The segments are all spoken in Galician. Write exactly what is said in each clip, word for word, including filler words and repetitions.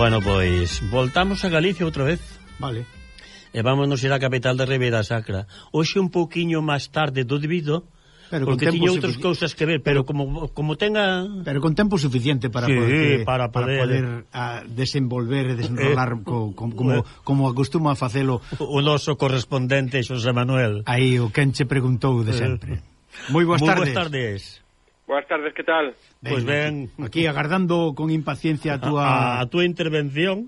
Bueno, pois, voltamos a Galicia outra vez. Vale. E vámonos ir á capital de Ribeira Sacra. Hoxe un pouquiño máis tarde do debido, pero porque tiña outras cousas que ver, pero como como tenga... Pero con tempo suficiente para sí, poder, para poder, para poder a, desenvolver e desenrolar eh, co, co, como, como acostuma a facelo o noso correspondente Xosé Manuel. Aí o quen che preguntou de sempre. Moi boas tardes. Moi boas tardes. Boas tardes, que tal? Pois pues ben, aquí, aquí agardando con impaciencia a túa a, a túa intervención.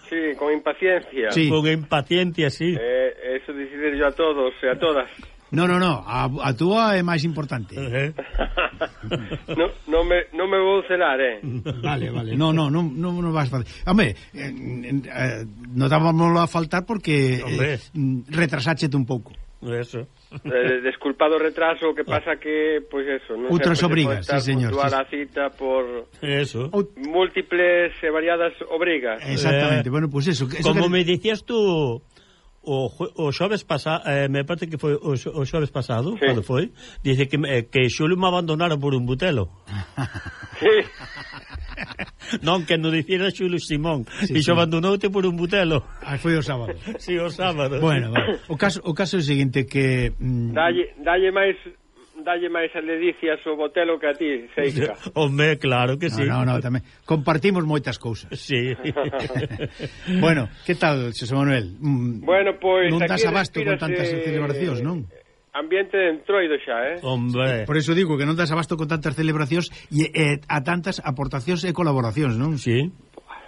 Sí, con impaciencia. Sí. Con impaciencia, sí. Eh, eso decidir yo a todos e a todas. No, no, no, a, a túa é máis importante. Uh-huh. no, no, me, no me vou celar, eh. Vale, vale, no, no, no, no, no vas a fazer. Hombre, eh, eh, notábamoslo a faltar porque eh, retrasáchete un pouco. Eso. Eh, desculpado o retraso, que pasa que, pois pues eso, non outras sei, obrigas, sí, señor. Puntual sí. a cita por eso. múltiples e variadas obrigas. Exactamente, eh, bueno, pues eso. eso como que... me dicías tú o, o xoves pasado, eh, me parece que foi o, o xoves pasado, sí. Cando foi, dice que, eh, que Xulio me abandonaron por un butelo. Sí. Non, que non dicira Xulio Simón, sí, e xo sí. abandonoute por un butelo. Ah, foi o sábado. Si, sí, o sábado. Bueno, bueno. O caso o caso é o seguinte que mm... dalle dalle máis dalle máis a ledicias o botelo que a ti, Seica. Home, claro que sí. No, no, no, tamén compartimos moitas cousas. Sí. Bueno, que tal, Xosé Manuel? Mm, bueno, pois non das abasto con respírase... tantas celebracións, non? Ambiente de entroido xa, eh? Hombre. Por eso digo que non das abasto con tantas celebracións e eh, a tantas aportacións e colaboracións, non? Sí.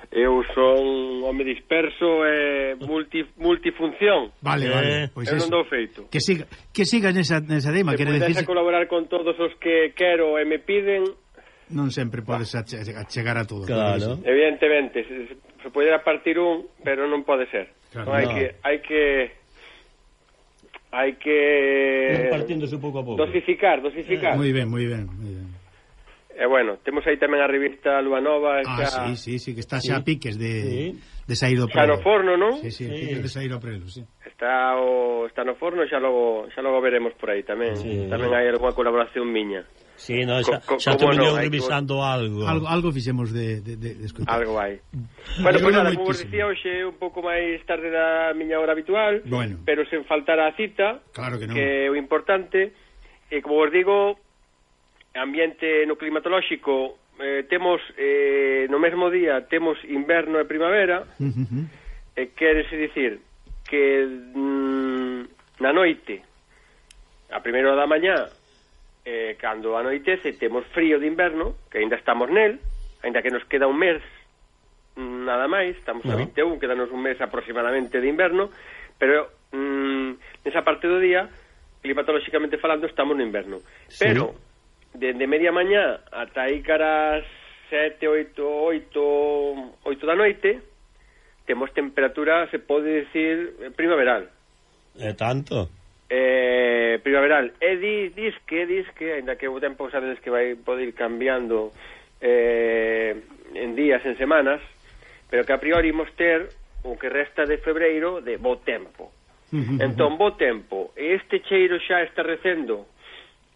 Eu son home disperso e multi, multifunción. Vale, eh, vale. Pois eu eso. non dou feito. Que siga, que siga nesa, nesa dema. Se quere pudese decir... colaborar con todos os que quero e me piden... Non sempre podes ache chegar a todo. Claro. Evidentemente, se, se podera partir un, pero non pode ser. Claro, non, hai no. que... Hai que hai que partiéndose pouco a pouco. Dosificar, dosificar. Eh, moi ben, moi ben, moi ben. E eh, bueno, temos aí tamén a revista Lua Nova. Ah, xa... sí, sí, sí, que está sí. xa a piques de, sí. de sair do prelo. Xa no forno, non? Sí, sí, sí. piques de sair do prelo, sí. Está, o, está no forno, xa logo, xa logo veremos por aí tamén. Sí. Tamén hai algunha colaboración miña. Sí, no, xa, co, co, xa te veño no, revisando algo. Algo algo fixemos de, de, de, de escutar. Algo hai. Bueno, pois pues nada, como vos moitísimo. dicía, hoxe é un pouco máis tarde da miña hora habitual, Bueno. pero sen faltar a cita, Claro que non. que é o importante. E como vos digo, ambiente no climatolóxico, eh, temos eh, no mesmo día temos inverno e primavera. Uh -huh. E quérese dicir que mm, na noite, a primeira hora da mañá, eh, cando anoitece, temos frío de inverno, que ainda estamos nel, ainda que nos queda un mes nada máis, estamos no. a vinte e un, quedanos un mes aproximadamente de inverno, pero mm, nesa parte do día, climatolóxicamente falando, estamos no inverno. Sí. Pero, dende media mañá ata aí caras sete, oito, oito, oito da noite, temos temperatura, se pode decir, primaveral. É tanto? Eh, primaveral. E dis, dis que, dis que, ainda que o tempo sabedes que vai poder ir cambiando eh, en días, en semanas, pero que a priori imos ter o que resta de febreiro de bo tempo. Entón, bo tempo, e este cheiro xa está recendo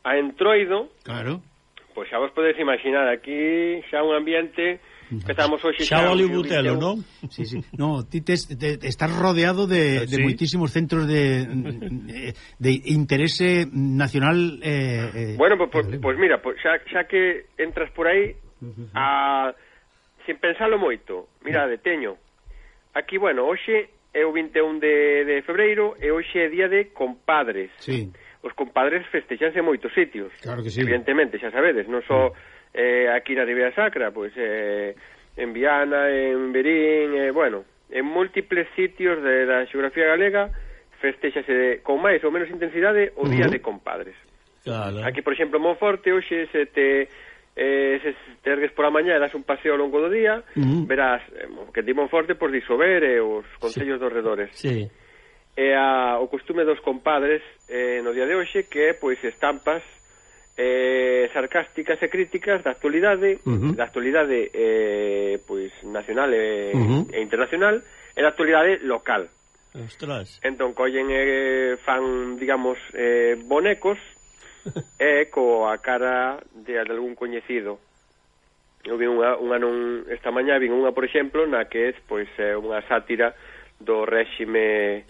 a entroido, claro. Pois xa vos podedes imaginar, aquí xa un ambiente... Empezamos hoxe xa o Butelo, non? Sí, sí. No, ti tes, te, estás rodeado de, de sí. moitísimos centros de, de, de interese nacional. Eh, eh, bueno, pois pues, pues, pues mira, pues xa, xa que entras por aí, a, sin pensalo moito, mirade, teño, aquí, bueno, hoxe é o vinte e un de, de febreiro e hoxe é día de compadres. Sí. Os compadres festexanse en moitos sitios. Claro que sí. Evidentemente, xa sabedes, non só... Sí. Eh, aquí na Ribeira Sacra, pois eh, en Viana, en Verín, eh, bueno, en múltiples sitios de, da xeografía galega festexase con máis ou menos intensidade o Día uh -huh. de Compadres. Claro. Aquí, por exemplo, en Monforte, hoxe se te eh, se te ergues por a mañá e das un paseo ao longo do día, uh -huh. verás eh, que di Monforte por disober e os concellos sí. dos redores. Sí. E a, o costume dos compadres eh, no día de hoxe que é, pois, estampas Eh, sarcásticas e críticas da actualidade, uh -huh. da actualidade eh, pois nacional e, uh -huh. e internacional, e da actualidade local. Ostras. Entón collen e eh, fan, digamos, eh, bonecos e eh, coa cara de, de algún coñecido. eu vi unha, unha non, esta mañá vi unha, por exemplo, na que é pois é unha sátira do réxime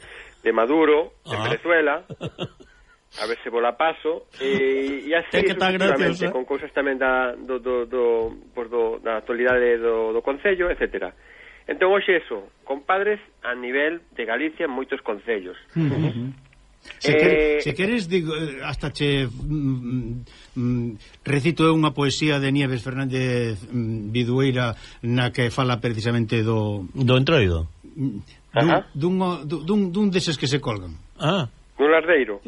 de Maduro en ah. Venezuela. A ver se vola paso e, e así sucesivamente, con cousas tamén da, do, do, do, pues do, da actualidade do, do Concello, etcétera. Entón, hoxe eso, compadres a nivel de Galicia en moitos concellos. Uh-huh. Se, eh, quer, se queres, digo, hasta che mm, mm, recito unha poesía de Nieves Fernández mm, Vidueira na que fala precisamente do... Do entroido? Dun, dun, dun, dun deses que se colgan. Ah. Un lardeiro.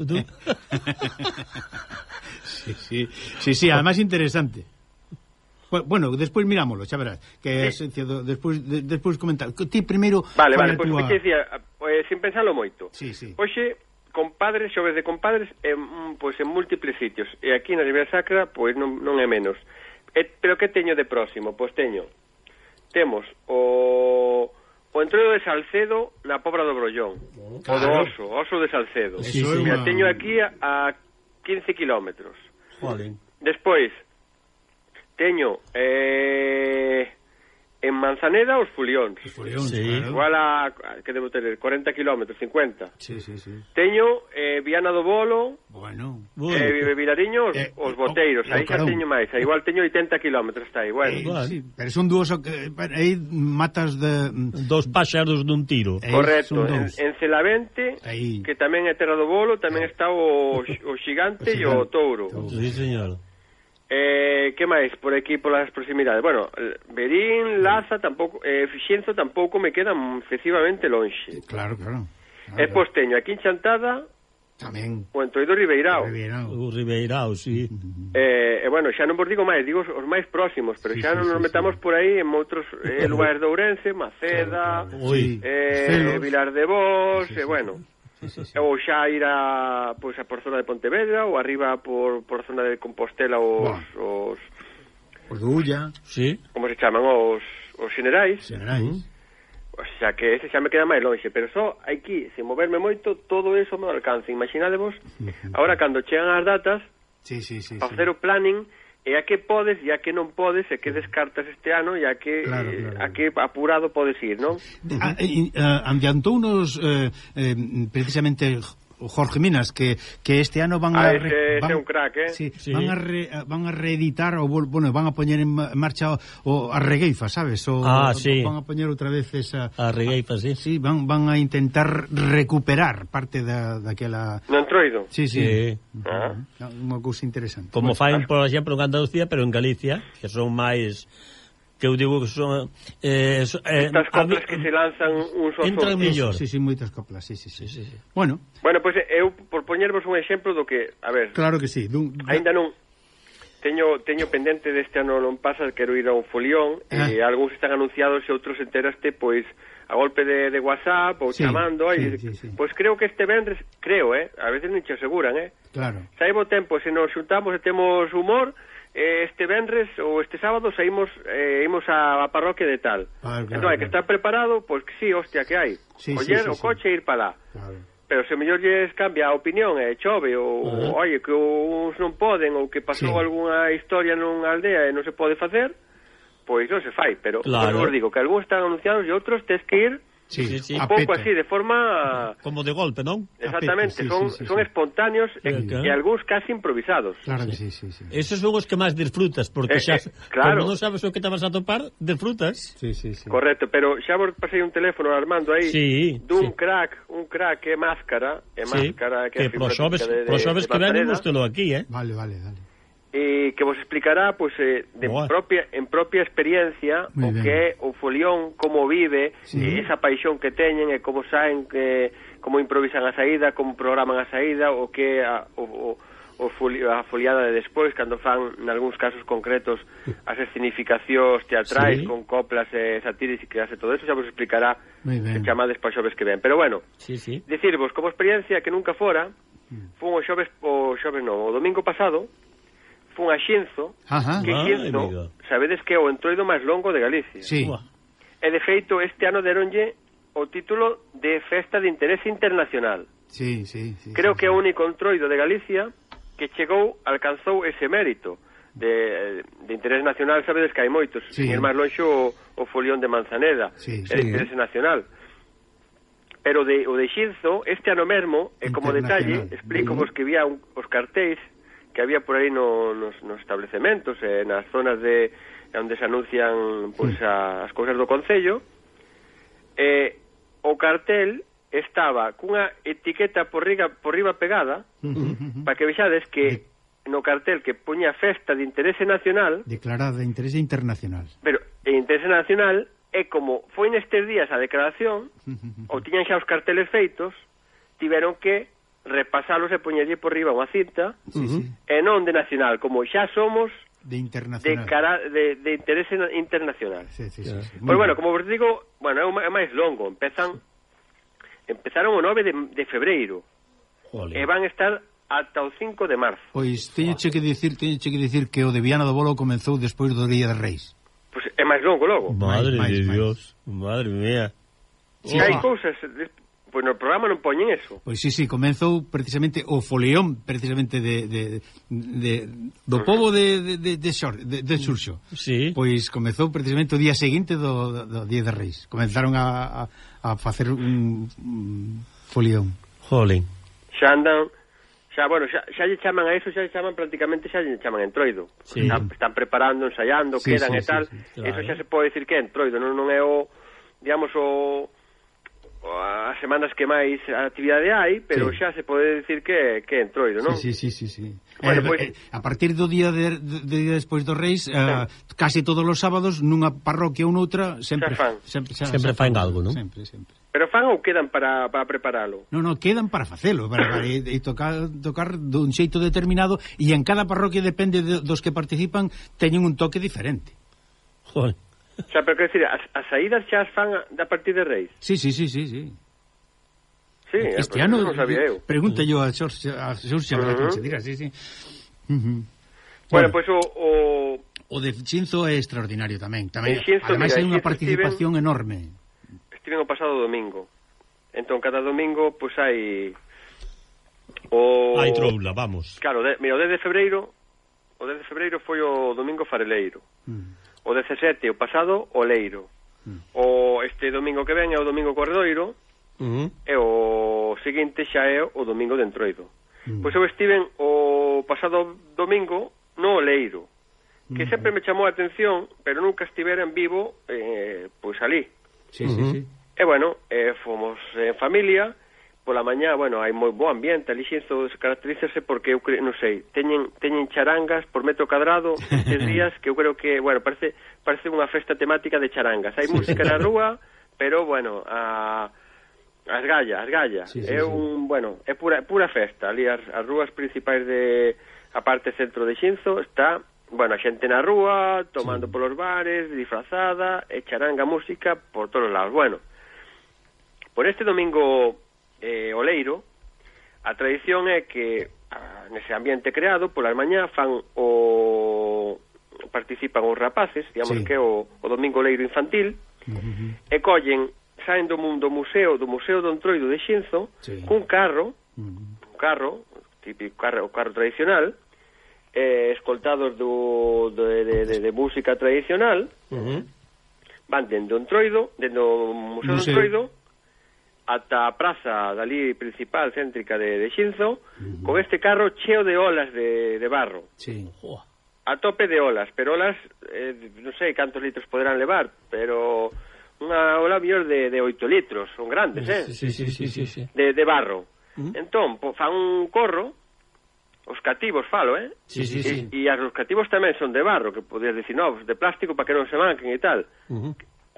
sí, sí, sí, sí, además interesante. Bueno, despois mirámoslo, xa verás, que sí. é despois de, despois comentar. Ti primeiro... Vale, vale, pois pues, tua... que decía, pues, sin pensarlo moito. Sí, sí. Oxe, compadres, xoves de compadres en, pois, en múltiples sitios. E aquí na Ribeira Sacra, pois non, non é menos. E, pero que teño de próximo? Pois teño, temos o... o entroido de Salcedo na Pobra do Brollón. Claro. O do Oso, Oso de Salcedo. Sí, sí, una... teño aquí a, a quince kilómetros. Joder. Despois, teño eh, en Manzaneda os Fulións. Os Fulións, sí. Claro. Igual a, que debo ter, cuarenta kilómetros, cincuenta. Sí, sí, sí. Teño eh, Viana do Bolo, bueno. eh, Vilariño, os, eh, os Boteiros. Oh, aí xa teño máis. Aí igual teño oitenta kilómetros, está aí. Bueno. Eh, sí, pero son dúos, eh, aí matas de... Dos páxaros dun tiro. Eh, Correcto. En, en Celavente, aí. Que tamén é Terra do Bolo, tamén eh. está o, o Xigante e o Touro. Sí, señor. Eh, que máis por aquí polas proximidades? Bueno, Berín, Laza tampouco, eh, Fixenzo tampouco me quedan excesivamente lonxe. Claro, claro. claro E pois teño aquí en Chantada tamén o entroido Ribeirao. O Ribeirao, sí. Eh, e bueno, xa non vos digo máis, digo os máis próximos, pero sí, xa sí, non nos sí, metamos sí. por aí en outros eh, lugares de Ourense, Maceda, claro, claro. eh, Vilar de Vos, sí, e sí, bueno. Sí, sí, sí. Ou xa ir a, pois, a por zona de Pontevedra ou arriba por, por zona de Compostela os, bueno. os os de Ulla, sí. Como se chaman os, os xenerais, xenerais. O sea que ese xa me queda máis longe, pero só aquí, sen moverme moito, todo eso me alcance. Imaginadevos, agora cando chegan as datas, sí, sí, sí, para sí. facer o planning, e a que podes e a que non podes, e que descartas este ano, e a que, claro, claro. Claro. a que apurado podes ir, non? Uh-huh. uh, Adiantounos uh, eh, precisamente Jorge Minas que, que este ano van ah, a ese, van, ese é un crack, eh? Sí, sí. van a re, van a reeditar o bueno, van a poñer en marcha o, o a Regueifa, sabes? O, ah, sí. Van a poñer outra vez esa a Regueifa, sí. Sí, van van a intentar recuperar parte da daquela No entroido. Sí, sí. sí. Uh-huh. Ah. Unha cousa interesante. Como bueno, faen, por exemplo, en Andalucía, pero en Galicia, que son máis que eu digo que son eh, so, eh, estas coplas a, que se lanzan uns aos entran mellor. Sí, sí, moitas coplas, sí, sí, sí. sí, sí, sí. Bueno. Bueno, pois pues, eu por poñervos un exemplo do que, a ver. Claro que sí. Dun, Ainda non teño teño pendente deste ano non pasa, quero ir a un folión ah. e algúns están anunciados e outros enteraste pois a golpe de, de WhatsApp ou sí, chamando, aí, sí, sí, sí. pois creo que este vendres, creo, eh, a veces non che aseguran, eh. Claro. Saibo tempo, se nos xuntamos e temos humor, este venres ou este sábado saímos eh, imos á, á parroquia de tal. Ah, claro, entón hai que estar preparado, pois que sí, hostia, que hai. Sí, Oller sí, sí, o coche e sí. ir para lá. Claro. Pero se mellor lles cambia a opinión e chove ou, uh-huh. oye, que uns non poden ou que pasou sí. algunha historia nunha aldea e non se pode facer, pois non se fai, pero claro. Os digo que algúns están anunciados e outros tes que ir sí, sí, sí. un pouco así, de forma... Como de golpe, non? Exactamente, sí, son, sí, sí, son sí. espontáneos sí, e, claro. e algúns casi improvisados. Claro que sí, sí, sí. Esos son os que máis disfrutas, porque eh, xa, eh, claro. Como non sabes o que te vas a topar, disfrutas. Sí, sí, sí. Correcto, pero xa vos pasei un teléfono Armando aí sí, dun sí. crack, un crack que é Máscara, é sí, Máscara que, que pro xoves, de, de, pro xoves que ven ústelo aquí, eh? Vale, vale, vale. E que vos explicará pois pues, eh, de propia, en propia experiencia muy o bien. Que é o folión, como vive, sí. E esa paixón que teñen e como saen, que, como improvisan a saída, como programan a saída, o que a, o, o, o foli, a foliada de despois, cando fan, en algúns casos concretos, as escenificacións teatrais sí. Con coplas e satíricas e todo eso, xa vos explicará se chamades para xoves que ven. Pero bueno, sí, sí. Dicirvos, como experiencia que nunca fora, fun o xoves, o xoves non, o domingo pasado, fun a Xenzo, ajá. Que Xenzo, sabedes que é o entroido máis longo de Galicia. Sí. E de feito, este ano deronlle o título de Festa de Interés Internacional. Sí, sí, sí. Creo sí, que é sí. o único entroido de Galicia que chegou, alcanzou ese mérito. de, de interés nacional, sabedes que hai moitos, sí. sin ir máis lonxe o, o folión de Manzaneda, sí, é sí. de interés nacional. Pero de, o de Xinzo, este ano mesmo, e como detalle, explico vos que había un, os cartéis que había por aí no, nos, nos establecementos, eh, nas zonas de onde se anuncian pois, a, as cousas do Concello, eh, o cartel estaba cunha etiqueta por riba, por riba pegada, para que vexades que no cartel que puña festa de interese nacional, declarada de interese internacional, pero en interese nacional é como foi nestes días a declaración, ou tiñan xa os carteles feitos, tiveron que repasalos e poñerlle por riba unha cinta, sí, sí. e non de nacional, como xa somos de internacional, de, cara, de, de interese internacional. Sí, sí, sí, sí. Pois bueno, como vos digo, bueno, é máis longo, empezan empezaron o nove de, de febreiro, Jolín. E van estar ata o cinco de marzo. Pois teñoche que dicir, teñoche que dicir que o de Viana do Bolo comezou despois do Día de Reis. Pois é máis longo logo. Madre máis, de máis, Dios, máis. Madre mía. Si oh. hai cousas, pois no programa non poñen eso. Pois sí, sí, comezou precisamente o folión precisamente de, de, de do pobo de de de, de, Xor, de, de Xurxo. Sí. Pois comezou precisamente o día seguinte do, do, do Día de Reis. Comenzaron a, a, a facer un, un folión. Jolín. Xa andan Xa, bueno, xa, xa lle chaman a eso, xa lle chaman prácticamente, xa lle chaman entroido. Sí. Están, están preparando, ensaiando, sí, quedan sí, e tal. Sí, sí, claro. Eso xa se pode decir que é entroido, non, non é o, digamos, o, o as semanas que máis actividade hai, pero sí. xa se pode decir que, que é entroido, non? Sí, sí, sí, sí, sí. Bueno, eh, pues, eh, a partir do día de, de, de día despois dos Reis, eh, sí. casi todos os sábados nunha parroquia ou noutra sempre xa fan. sempre, xa, sempre xa fan algo, non? Sempre, sempre. Pero fan ou quedan para, para preparalo? Non, non, quedan para facelo, para, para e, e tocar, tocar dun xeito determinado, e en cada parroquia depende de, dos que participan, teñen un toque diferente. Joder. Xa, pero quer decir, as, as saídas xa as fan a, a partir de Reis? Sí, sí, sí, sí, sí. Sí, este pues, ano non sabía eu. Pregunta yo a Xorxe, a Xorxe, uh -huh. que dirá, sí, sí. Uh -huh. Bueno, pois pues, o, o o de Xinzo é extraordinario tamén, tamén. Xinzo, ademais mira, hai unha Xinzo participación estiven, enorme. Estiven o pasado domingo. Entón, cada domingo, pois pues, hai o... Hai troula, vamos. Claro, de, mira, o dez de febreiro o dez de febreiro foi o domingo fareleiro. Mm. O dezasete, o pasado, o leiro. Mm. O este domingo que ven é o domingo corredoiro. Uh -huh. E o seguinte xa é o domingo de entroido. Mm. Pois eu estiven o pasado domingo no Oleiro, que mm. sempre me chamou a atención, pero nunca estivera en vivo eh, pois ali. Sí, uh -huh. sí, sí. E bueno, eh, fomos en familia. Pola mañá, bueno, hai moi bo ambiente ali. Xinzo caracterízase porque eu creo, non sei, teñen teñen charangas por metro cadrado estes días que eu creo que, bueno, parece parece unha festa temática de charangas. Hai sí, música sí. na rúa, pero bueno, a as gallas, as gallas. Sí, sí, é un, sí. bueno, é pura pura festa. Ali as, as rúas principais de a parte centro de Xinzo está, bueno, a xente na rúa tomando sí. polos bares, disfrazada, e charanga música por todos lados. Bueno, por este domingo eh, Oleiro, a tradición é que a, nese ambiente creado polas mañá fan o participan os rapaces, digamos sí. que o, o domingo Oleiro infantil, uh -huh. e collen, saen do mundo museo, do Museo do Entroido de Xinzo, sí. cun carro, uh -huh. un carro, típico carro, carro tradicional, eh, escoltados do, de, de, de, de música tradicional, uh -huh. van dentro do Entroido, dentro do Museo, Museo. do Entroido, ata a praza dali principal céntrica de, de Xinzo, uh -huh. con este carro cheo de olas de, de barro. Sí. A tope de olas, pero olas, eh, non sei cantos litros poderán levar, pero unha ola mellor de, de oito litros, son grandes, eh? Sí, sí, sí, sí, sí. De, de barro. Uh -huh. Entón, po, fan un corro, os cativos falo, eh? Sí, sí, sí. E, e os cativos tamén son de barro, que podías decir, no, de plástico para que non se manquen e tal. Uh -huh.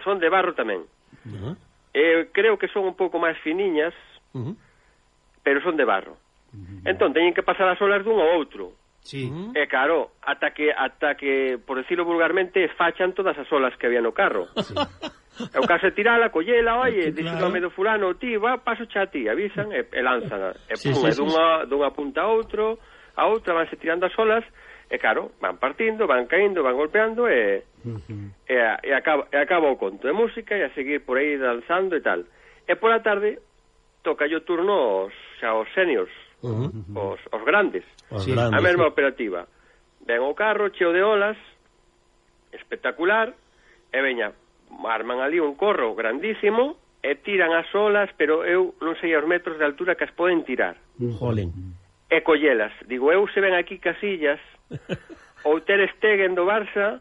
Son de barro tamén. Uh -huh. Eh, creo que son un pouco máis finiñas, uh -huh. pero son de barro. Uh -huh. Entón, teñen que pasar as olas dun ao outro. Sí. E claro, ata que, ata que, por decirlo vulgarmente, esfachan todas as olas que había no carro. Sí. E o caso é tirala, collela, oye, sí, claro. Dixo o medo fulano, ti, va, paso xa a ti, avisan e, e lanzan. E sí, pum, sí, e sí, dunha, sí. dunha punta a outro, a outra, vanse tirando as olas, e claro, van partindo, van caíndo, van golpeando, e, uh -huh. e, e, acaba, e acaba o conto de música, e a seguir por aí danzando e tal. E pola tarde, toca yo turno os, xa os seniors, uh -huh. os, os grandes, sí. a mesma sí. operativa. ven o carro cheo de olas, espectacular, e veña, arman ali un corro grandísimo, e tiran as olas, pero eu non sei aos metros de altura que as poden tirar. Jolín. E collelas. Digo, eu se ven aquí Casillas, ou Ter Stegen do Barça,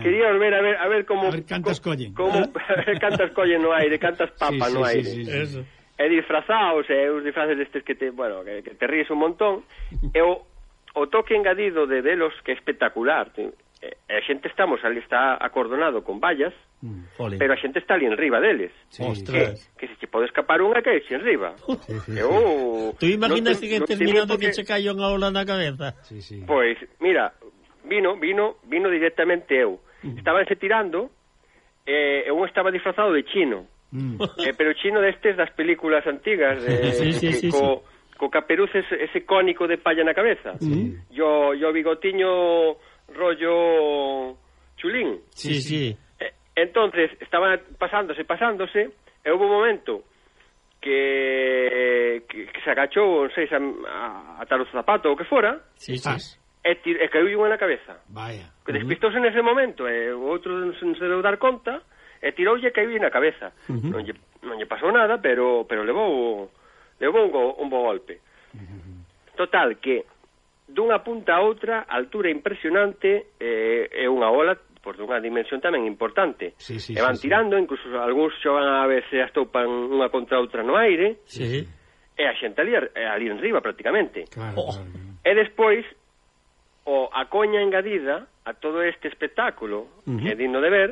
quería ver a ver a ver como a ver cantas collen. Como a ver cantas collen no aire, cantas papas sí, sí, no aire. Sí, sí, sí. Eso. E disfrazados, e os disfraces destes que te, bueno, que, que te ríes un montón. E o, o toque engadido de velos que é espectacular. E a xente estamos ali, está acordonado con vallas, mm, pero a xente está ali en riba deles. Sí, que, que se che pode escapar unha que xe en riba. Sí, sí, Eu, Tú imaginas non te, que non te terminando porque... que che caio unha ola na cabeza? Sí, sí. Pois, mira, vino, vino, vino directamente eu. Estabanse tirando, e eh, un estaba disfrazado de chino. Mm. Eh, pero chino destes das películas antigas, de, Sí, sí, sí, co, co caperuz ese, ese cónico de palla na cabeza. Sí. Yo, yo bigotiño rollo chulín. Sí, sí. Eh, entonces, estaban pasándose, pasándose, e hubo un momento que, que, que se agachou, non sei, a, a atar o zapato ou que fora, Sí, sí. Zas. e, tir, e caiu unha na cabeza. Vaya. Que despistouse nese momento, e o outro non se, non se deu dar conta, e tiroulle e caiu na cabeza. Uh-huh. Non lle, non lle pasou nada, pero pero levou levou un, go, un bo golpe. Uh-huh. Total, que dunha punta a outra, altura impresionante, eh, é unha ola por dunha dimensión tamén importante. Sí, sí, e van sí, tirando, sí. Incluso algúns xogan a ver se as topan unha contra outra no aire, Sí. e a xente ali, ali en riba prácticamente. Claro, Oh. claro, claro. E despois, o a coña engadida a todo este espectáculo, Uh-huh. que é digno de ver,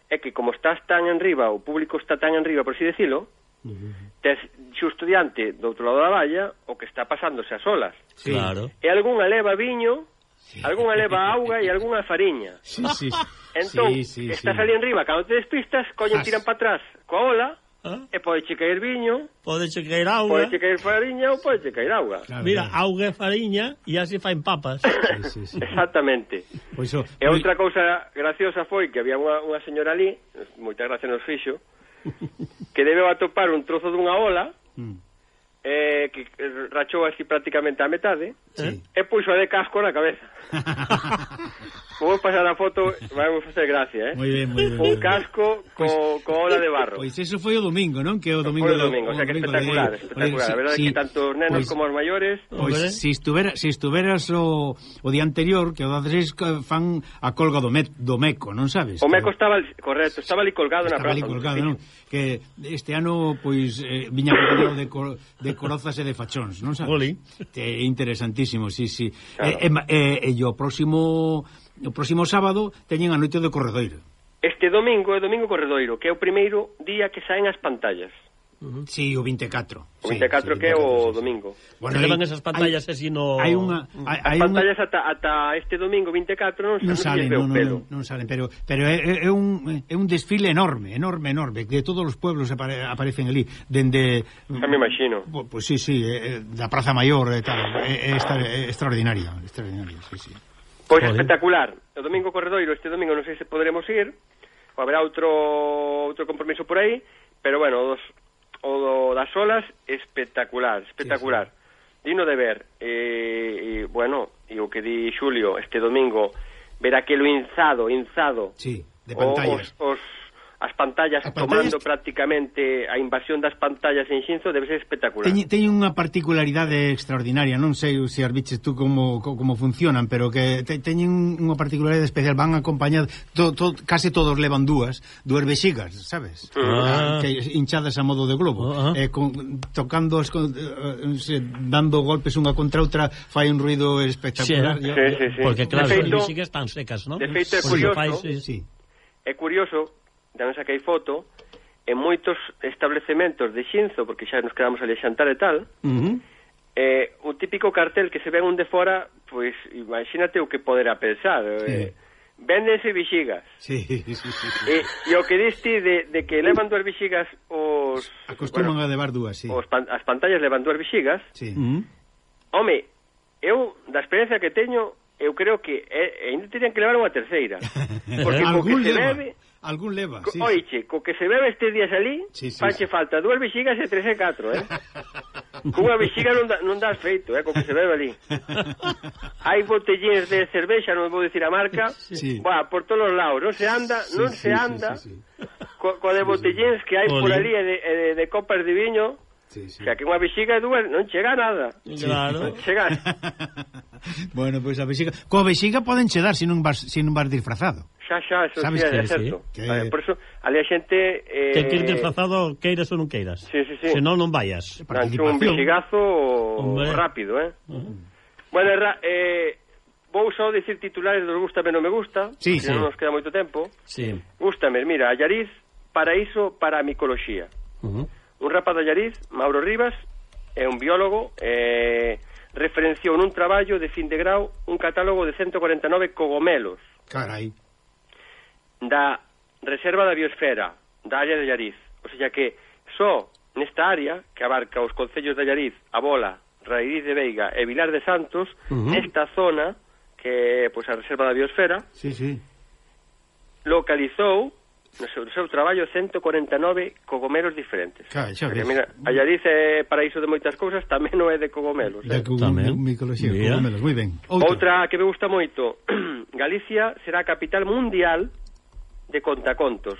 é que como estás tan en riba, o público está tan en riba, por así decirlo, Uh-huh. tes xusto diante do outro lado da valla o que está pasándose as olas. Sí. Claro. E algunha leva viño, sí. algunha leva auga e algunha fariña. Sí, sí. Entón, sí, sí, estás sí. ali en riba, cando te despistas, coñen, Zas. tiran para atrás coa ola, Ah, e pode che caer viño, pode che caer auga. pode che caer fariña ou pode che caer auga. Claro, Mira, claro. auga e fariña e así faen papas. Sí, sí, sí. Exactamente. Pois o, E outra cousa graciosa foi que había unha, unha señora ali, moita gracia nos fixo, que debeu atopar un trozo dunha ola, Mm. eh, que rachou así prácticamente a metade, Sí. e puxo de casco na cabeza. Vou pasar a foto, vai facer gracia, eh? Moi ben, moi ben. Un casco co, co ola de barro. Pois eso foi o domingo, non? Que é o domingo Foi o do- domingo, o sea que domingo espectacular, de- espectacular. Oye, A verdade sí, é que tanto os nenos pois- como os maiores... Pois Hombre. se estuvera, se estuveras o, o día anterior, que o daces fan a colga do, met, do Meco, non sabes? O Que- meco estaba, correcto, estaba ali colgado na Estaba ali praza. colgado, non? Que este ano, pois, eh, viña acompañado de, cor, de corozas e de fachóns, non sabes? Jolín. É interesantísimo, sí, sí. Claro. E, e, e, e o próximo o próximo sábado teñen a noite do Corredoiro. Este domingo é Domingo Corredoiro, que é o primeiro día que saen as pantallas. Uh-huh. Sí, o vinte e catro. O vinte e catro que é o domingo. Bueno, que levan esas pantallas así no... Hai unha hai, As hai unha pantallas ata, ata este domingo vinte e catro non, non non salen, lles veo non, pelo. non, non salen, pero pero é, é un é un desfile enorme, enorme, enorme, que todos os pueblos apare, aparecen ali, dende Xa me imagino. Pois pues, sí, sí, é, é, da Praza Maior e tal, é, é, extra, é extraordinario, extraordinario, sí, sí. Pois Joder. espectacular. O domingo Corredoiro, este domingo non sei se poderemos ir, ou haberá outro outro compromiso por aí, pero bueno, o, dos, o do, das olas espectacular, espectacular. Sí, sí. Digno de ver. E, e bueno, e o que di Xulio este domingo, ver aquelo inzado, inzado. Sí, de o- pantallas. Os, os as pantallas, As tomando pantallas- prácticamente a invasión das pantallas en Xinzo debe ser espectacular. Teñen, teñen unha particularidade extraordinaria, non sei se as biches tú como, co- como funcionan, pero que te, teñen unha particularidade especial, van acompañadas, to, to, case todos levan dúas, dúas vexigas, sabes? Ah. Que hinchadas a modo de globo, Ah. eh, con, tocando, as, con, eh, se, dando golpes unha contra outra, fai un ruido espectacular. Sí, Yo- sí, yo- sí, sí. Porque claro, De as feito- músicas están secas, ¿no? de feito é Porque curioso. fai, sí, Sí. É curioso, tamén saquei foto, en moitos establecementos de Xinzo, porque xa nos quedamos ali a xantar e tal, Uh-huh. eh, o típico cartel que se ven un de fora, pois imagínate o que poderá pensar. Eh, véndense vixigas. Sí, sí, sí, sí. E, e o que diste de, de que levan dúas vixigas os... Acostuman bueno, a levar dúas, sí. os pan, as pantallas levan dúas vixigas. Sí. Uh-huh. Home, eu, da experiencia que teño, eu creo que eh, ainda terían que levar unha terceira. Porque co que algún se leva, bebe... algún leva, Co- sí. Oiche, co que se bebe estes días ali, Sí, sí, fache sí. falta dúas vixigas e tres e catro, eh? cunha vexiga non, da, non das feito, eh, co que se bebe ali. Hai botellíns de cervexa, non vou dicir a marca, sí. Buah, por todos os lados, non se anda, sí, non sí, se sí, anda, sí, sí. Co, co de botellíns que hai Oli. por ali e de, e de, de copas de viño, sí, sí. o sea, que unha vexiga e dúas non chega a nada. Claro. Chega. Bueno, pois pues a vexiga, coa vexiga poden chedar se non vas, se non vas disfrazado. Xa, xa, eso Sabes sí, que é certo. sí, que... Vale, por eso, ali a xente... Eh... Que queres disfrazado, queiras ou non queiras. Sí, sí, sí. Se non, non vayas. Nancho, un vexigazo Hombre. rápido, eh? Uh -huh. Bueno, ra, eh, vou só dicir titulares dos gústame non me gusta, sí, que sí. non nos queda moito tempo. Sí. Gústame, mira, Allariz, paraíso para a micoloxía. Uh -huh. Un rapaz de Allariz, Mauro Rivas, é un biólogo, eh, referenciou nun traballo de fin de grau un catálogo de ciento cuarenta e nove cogomelos. Carai. Da reserva da biosfera da área de Allariz, o sea que só nesta área que abarca os concellos de Allariz, A Bola, Raíz de Veiga e Vilar de Santos, uh -huh. nesta zona que é pois, a reserva da biosfera, sí, sí. localizou no seu, no seu traballo ciento cuarenta e nove cogomelos diferentes. Claro, xa ves. Mira, Allariz é paraíso de moitas cousas, tamén non é de cogomelos. De Eh? tamén. Micoloxía, cogomelos, moi ben. Outra. Outra que me gusta moito, Galicia será a capital mundial de contacontos.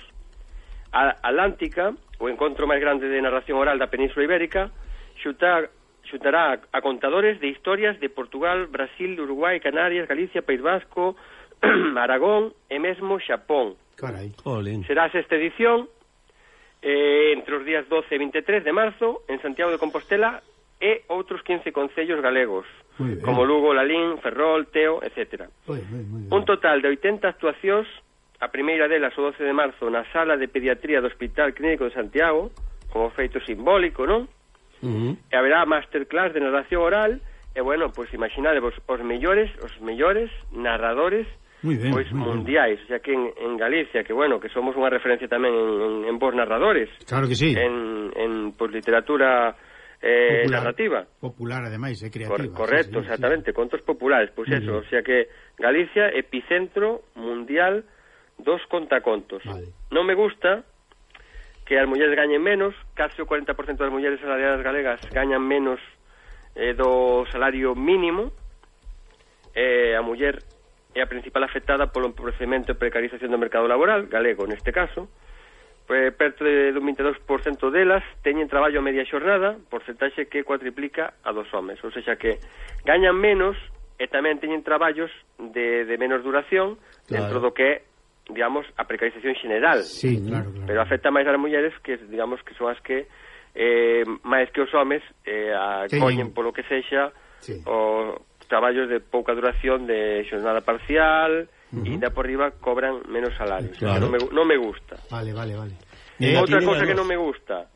A Atlántica, o encontro máis grande de narración oral da Península Ibérica, xutar, xutará a contadores de historias de Portugal, Brasil, Uruguai, Canarias, Galicia, País Vasco, Aragón e mesmo Xapón. Carai. Jolín. Será a sexta edición eh, entre os días doce e veintitrés de marzo en Santiago de Compostela e outros quince concellos galegos, como Lugo, Lalín, Ferrol, Teo, etcétera. Muy bien, muy bien. Un total de oitenta actuacións, a primeira delas o doce de marzo na Sala de Pediatría do Hospital Clínico de Santiago, como feito simbólico, non? Uh -huh. E haberá masterclass de narración oral, e bueno, pois pues, imaginadevos os mellores, os mellores narradores muy bien, pois muy mundiais, o sea que en, en Galicia, que bueno, que somos unha referencia tamén en, en, en vos narradores. Claro que sí. En, en pues, literatura eh, popular, narrativa. Popular, ademais, é creativa. Cor correcto, sí, sí, exactamente, sí. Contos populares, pois pues eso, bien. O sea que Galicia, epicentro mundial dos contacontos. Vale. Non me gusta que as mulleres gañen menos, case o cuarenta por ciento das mulleres salariadas galegas gañan menos eh, do salario mínimo, eh, a muller é a principal afectada polo empobrecemento e precarización do mercado laboral, galego neste caso, pues, perto de, do vinte e dous por cento delas teñen traballo a media xornada, porcentaxe que cuatriplica a dos homes, ou seja que gañan menos e tamén teñen traballos de, de menos duración, claro. Dentro do que é, digamos, a precarización xeneral. Sí, claro, claro. Pero afecta máis ás mulleres que, digamos, que son as que eh, máis que os homes eh, acollen polo que sexa sí. O traballos de pouca duración, de xornada parcial, uh -huh. E ainda por riba cobran menos salarios. Claro. Non, me, non me gusta. Vale, vale, vale. Eh, Outra cosa que non me gusta,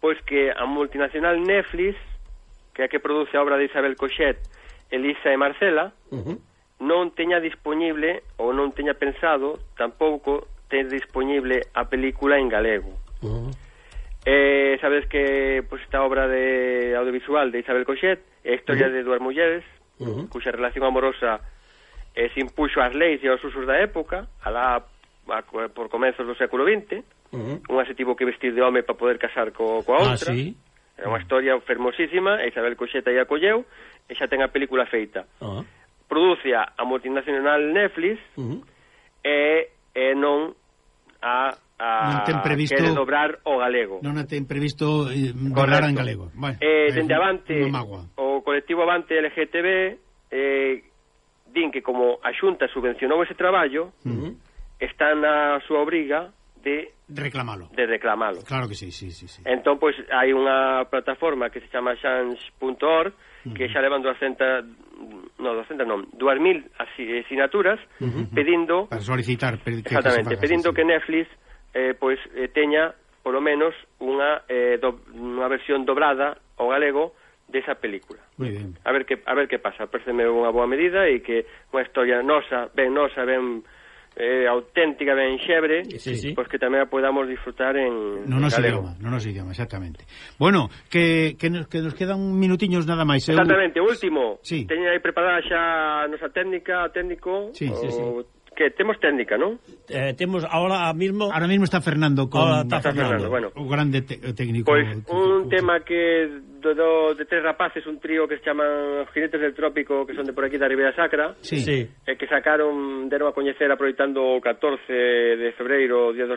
pois que a multinacional Netflix, que é a que produce a obra de Isabel Coixet, Elisa e Marcela, uh -huh. non teña disponible ou non teña pensado tampouco ter disponible a película en galego. Uh -huh. Eh, sabes que pues, esta obra de audiovisual de Isabel Coixet é a historia uh -huh. de dúas mulleres uh -huh. cuxa relación amorosa eh, se impuxo ás leis e aos usos da época, alá a, por comezos do século vinte. Uh -huh. Unha se tivo que vestir de home para poder casar co, coa outra. Ah, sí? É unha historia fermosísima, Isabel Coixet aí acolleu e xa ten a película feita. Uh -huh. Produce a multinacional Netflix uh -huh. e, e non a, a non ten previsto, quere dobrar o galego. Non ten previsto eh, dobrar en galego. Bueno, eh, dende avante, o colectivo Avante L G T B eh, din que como a Xunta subvencionou ese traballo, uh -huh. está na súa obriga de reclamalo. De reclamalo. Claro que sí, sí, sí, sí. Entón, pois, pues, hai unha plataforma que se chama change punto org uh -huh. que xa levan doscientas, no, doscientas non, dúas mil asinaturas uh -huh. pedindo para solicitar que exactamente, que pedindo sí. que Netflix eh, pois, pues, eh, teña polo menos unha eh, do, unha versión dobrada ao galego desa película. Muy bien. A ver que a ver que pasa, pareceme unha boa medida e que unha historia nosa, ben nosa, ben eh, auténtica, ben xebre, sí, sí. Pois que tamén a podamos disfrutar en, no en nos galego. Idioma, non nos idioma, exactamente. Bueno, que, que, nos, que nos quedan minutiños nada máis. Exactamente, o último. Sí. Teña aí preparada xa a nosa técnica, técnico, sí, o... sí, sí. que temos técnica, non? Eh, temos ahora mismo... Ahora mismo está Fernando con... Ahora está, está Fernando, Fernando, bueno. O grande técnico. Pois pues, un tema que do, do, de tres rapaces, un trío que se chaman Jinetes del Trópico, que son de por aquí da Ribeira Sacra, sí. Sí. E que sacaron, deron a coñecer aproveitando o catorce de febreiro, o Día dos